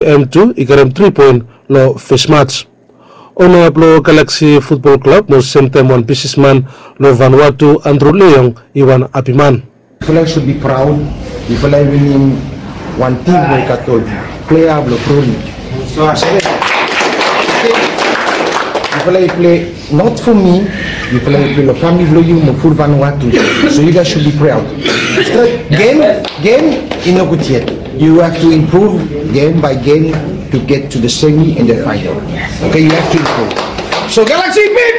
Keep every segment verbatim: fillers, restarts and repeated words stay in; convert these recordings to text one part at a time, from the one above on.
M tu i karem tri poen long fes mats. Ona blong Galaksi Futbol Klab mo semtaem wan bisnisman long Vanuatu, Andru Leong, i wan hapiman. Yufala i sud bi praod. Yufala i winim wan tim we i gat ol plea blong Brunei. Yufala i plei not fo mi. Yufala i plei long famili blong yu mo ful Vanuatu. So yu gais sud bi praod. Gem, gem i nogud yet. Yu have tu improve gem bai gem tu get tu the semi and the final. Oke, yu have tu improve. So Galaksi big.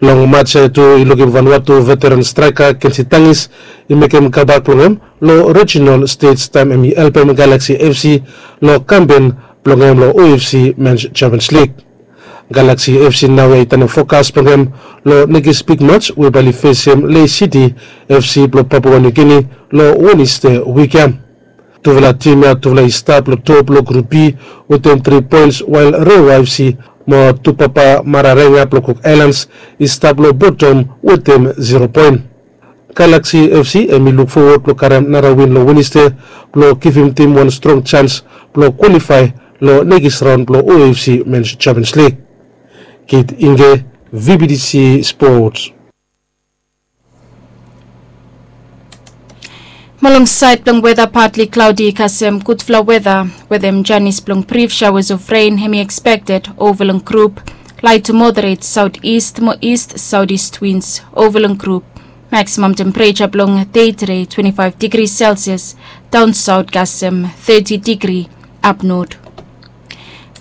Long mats ya tu i lukim Vanuatu veteran straeka Kensi Tangis i mekem kambak blong hem long rijinal stej taem hem i helpem Galaksi FC long kampen blong hem long OFC Mens Champions Lig. Galaksi FC naoia i tanem fokas blong hem long nekis big mats we bae oli fesem Lei Siti FC blong Papua Niu Gini long Weneste wik ya. Tufala tim ya tufala i stap long top long Grup B wetem tri poens, wael Rewa FC mo Tupapa Mararenga blong Cook Islands i stap long botom wetem zero poen. Galaksi FC hem i luk fowod blong karem nara win long Weneste blong givim tim wan strong jans blong kwalifae long nekis raon blong OFC Mens Champions Lig. Kit Inge, VBTC Sports. Mo long saed blong weta, partly cloudy kasem gudfala weta wetem janis blong brief showers of rain hem i expected ova long Grup. Light to moderate southeast mo east southeast winds ova long Grup. Maximum temperature blong dei tede twenty-five degrees Celsius, down south kasem thirty degree up north.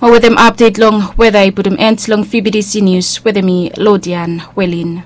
Mo wetem update long weta i putum end long VBTC News wetem mi, Lodian Welin.